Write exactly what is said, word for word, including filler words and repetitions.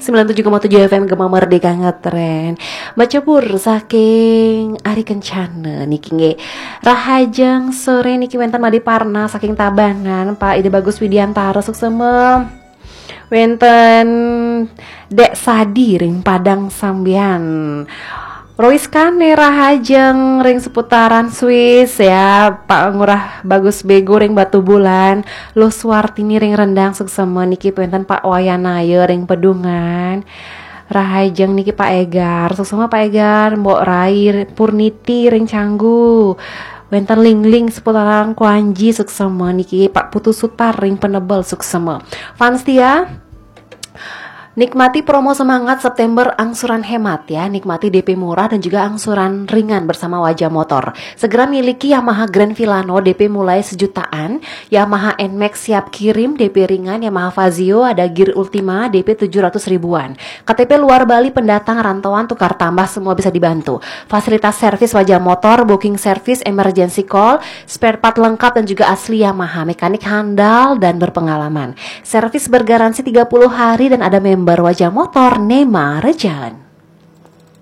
sembilan tujuh koma tujuh F M Gema Merdeka Ngetren. Macebur saking Ari Kencana niki nggih. Rahajeng sore niki wenten Made Parna saking Tabanan, Pak Ida Bagus Widiantara suksema. Wenten Dek Sadi ring Padang Sambian. Rois Kane Rahajeng ring seputaran Swiss ya, Pak Ngurah Bagus Bego ring Batubulan, Luh Suartini ring Rendang suksema niki wenten Pak Wayanaya ring Pedungan. Rahajeng niki Pak Egar, suksema Pak Egar, Mbok Rai Purniti ring Canggu. Wenten Lingling seputaran Kuanji suksema niki Pak Putu Sutar ring Penebel suksema. Fans setia, nikmati promo semangat September angsuran hemat ya. Nikmati D P murah dan juga angsuran ringan bersama Wajah Motor. Segera miliki Yamaha Grand Filano D P mulai sejutaan, Yamaha Nmax siap kirim D P ringan, Yamaha Fazzio ada gear Ultima D P tujuh ratus ribuan. K T P luar Bali, pendatang, rantauan, tukar tambah, semua bisa dibantu. Fasilitas servis Wajah Motor, booking service, emergency call, spare part lengkap dan juga asli Yamaha, mekanik handal dan berpengalaman. Servis bergaransi tiga puluh hari dan ada member Wajah Motor Nema Rejan.